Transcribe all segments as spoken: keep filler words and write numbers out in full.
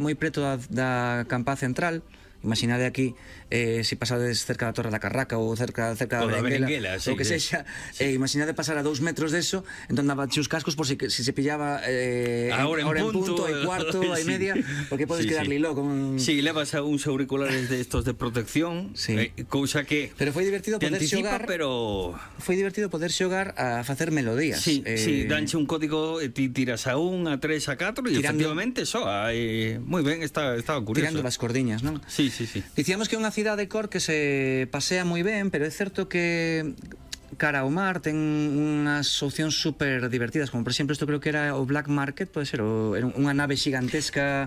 moi preto da, da Campá Central. Imaginade aquí, eh, se pasades cerca da Torre da Carraca ou cerca, cerca da Berenguela, sí, ou que sí, sexa, sí. eh, imaginade pasar a dous metros deso, entón daba os cascos por si, si se pillaba eh, ahora en, en punto, punto, hai cuarto, hai sí. media, porque podes sí, quedar sí. lilo con... Sí, levas a uns auriculares de estos de protección, sí. eh, cousa que pero foi divertido poder anticipa, xogar, pero foi divertido poder xogar a facer melodías. Sí, eh, sí, danche un código e ti tiras a un, a tres, a catro e tirando, efectivamente soa, eh, moi ben, está, estaba curioso. Tirando das cordiñas, non? Sí, sí, sí. Dicíamos que é unha cidade de Cork que se pasea moi ben, pero é certo que cara ao mar ten unhas opcións super divertidas, como por exemplo isto creo que era o Black Market, pode ser, o, era unha nave xigantesca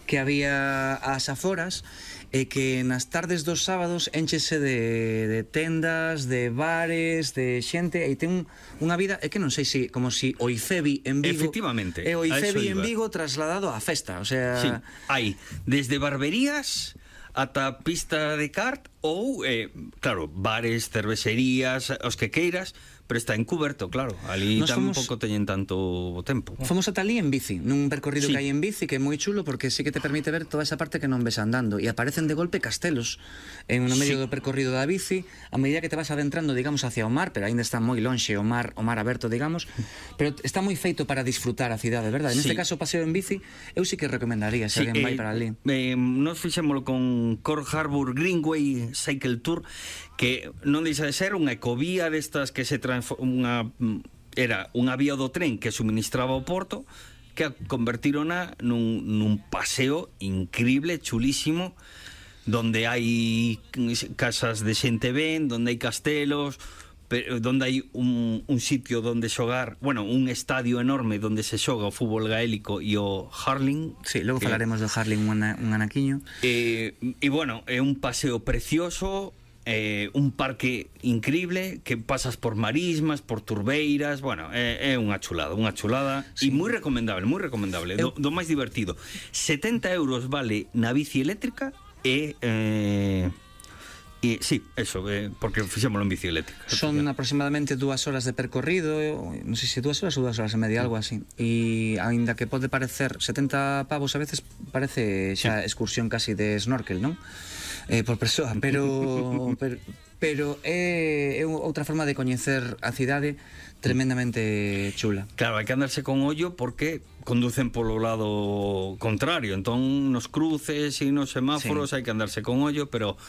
que había ás aforas e que nas tardes dos sábados enchese de, de tendas, de bares, de xente, e ten unha vida, é que non sei se como si o IFEBI en Vigo, efectivamente, é o IFEBI en Vigo trasladado á festa, o sea, sí, hai desde barberías ata pista de kart ou, eh, claro, bares, cervecerías, os que queiras, pero está encuberto, claro. Ali tampouco teñen tanto tempo. Fomos ata ali en bici, nun percorrido sí. que hai en bici, que é moi chulo porque sí que te permite ver toda esa parte que non ves andando, e aparecen de golpe castelos en no medio sí. do percorrido da bici, a medida que te vas adentrando, digamos, hacia o mar, pero aínda está moi lonxe o mar, o mar aberto, digamos, pero está moi feito para disfrutar a cidade, verdade? En sí. este caso, o paseo en bici, eu sí que recomendaría se sí, alguén eh, vai para ali. Eh, nos fixémolo con Cork Harbour Greenway Cycle Tour, que non deixa de ser unha ecovía destas que se transforma, era unha vía do tren que suministraba o porto, que convertirona nun, nun paseo increíble, chulísimo, donde hai casas de xente ben, donde hai castelos, pero donde hai un, un sitio donde xogar, bueno, un estadio enorme donde se xoga o fútbol gaélico e o hurling. Sí, logo que, falaremos do hurling un, un anaquiño. E, e bueno, é un paseo precioso, eh, un parque increíble que pasas por marismas, por turbeiras, bueno, é, é unha chulada, unha chulada sí. e moi recomendable, moi recomendable, Eu... do, do máis divertido. setenta euros vale na bici eléctrica e eh, E, sí, eso, eh, porque fixémolo en bici eléctrica. Son aproximadamente dúas horas de percorrido, non sei se dúas horas ou dúas horas e media, algo así. E aínda que pode parecer setenta pavos a veces, parece xa sí. excursión casi de snorkel, non? Eh, por persoa, pero pero, pero é, é outra forma de coñecer a cidade tremendamente chula. Claro, hai que andarse con ollo porque conducen polo lado contrario, entón nos cruces e nos semáforos sí. hai que andarse con ollo, pero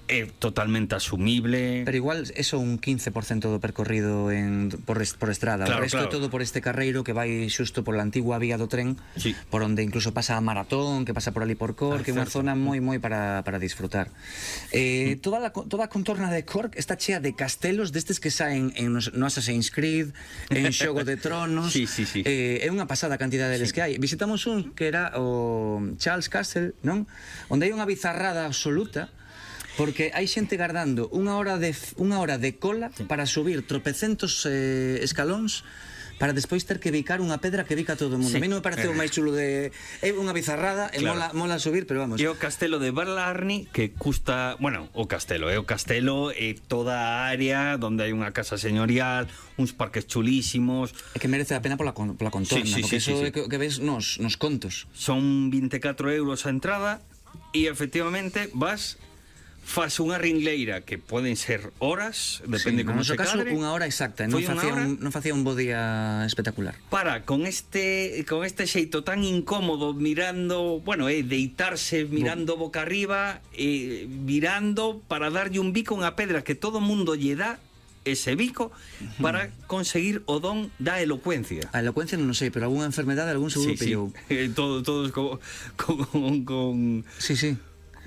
é totalmente asumible. Pero igual eso un quince por cento do percorrido en, por, por estrada. Claro, o resto claro. é todo por este carreiro que vai xusto por la antigua vía do tren, sí. por onde incluso pasa a Maratón, que pasa por ali por Cork, ah, que é unha zona moi moi para, para disfrutar. Eh, toda, la, toda a contorna de Cork está chea de castelos destes que saen en no Assassin's Creed, en Xogo de Tronos. Sí, sí, sí. Eh, é unha pasada cantidad deles sí. que hai. Visitamos un que era o Charles Castle, non? Onde hai unha bizarrada absoluta, porque hai xente gardando unha hora de unha hora de cola sí. para subir tropecentos eh, escalóns para despois ter que bicar unha pedra que bica todo o mundo. Sí. A mí non me parece o máis chulo de... É unha bizarrada, e claro. mola, mola subir, pero vamos. E o castelo de Barlarni, que custa... Bueno, o castelo, é o castelo e toda a área donde hai unha casa señorial, uns parques chulísimos... É que merece a pena pola, pola contorna, sí, sí, porque sí, iso sí, sí. é que, que ves nos, nos contos. Son vinte e catro euros a entrada e efectivamente vas... faz unha ringleira que poden ser horas, depende sí, como se cadre. No caso, unha hora exacta, non facía, un, non facía un bo día espectacular. Para, con este con este xeito tan incómodo, mirando, bueno, eh, deitarse mirando Bo. boca arriba, eh, virando para darlle un bico a unha pedra que todo mundo lle dá ese bico para conseguir o don da elocuencia. A elocuencia non sei, pero algunha enfermedade, algún seguro sí, pillou. Sí. Todo, todos con, con, con... Sí, sí.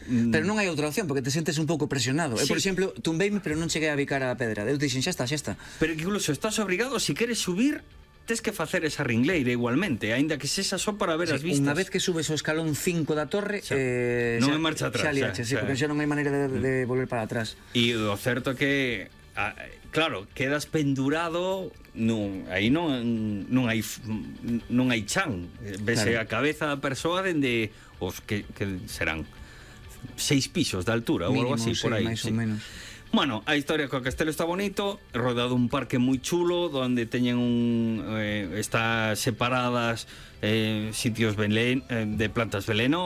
Pero non hai outra opción, porque te sentes un pouco presionado. Sí. Eu, por exemplo, tumbeime, pero non cheguei a bicar a pedra. Eu dixen, xa está, xa está. Pero incluso estás obrigado, se si queres subir, tes que facer esa ringleira igualmente, aínda que sexa só para ver sí, as vistas. Unha vez que subes o escalón cinco da torre, xa, eh, non hai marcha atrás. Xa liache, sí, porque xa non hai maneira de, de volver para atrás. E o certo que... A, claro, quedas pendurado, non, aí non non hai non hai chan. Vese claro. a cabeza da persoa dende os que, que serán seis pisos de altura ou algo así, sí, por aí. máis sí. ou menos. Bueno, a historia co castelo está bonito, rodeado un parque moi chulo, donde teñen un... Eh, está separadas eh, sitios velen, eh, de plantas velenosas,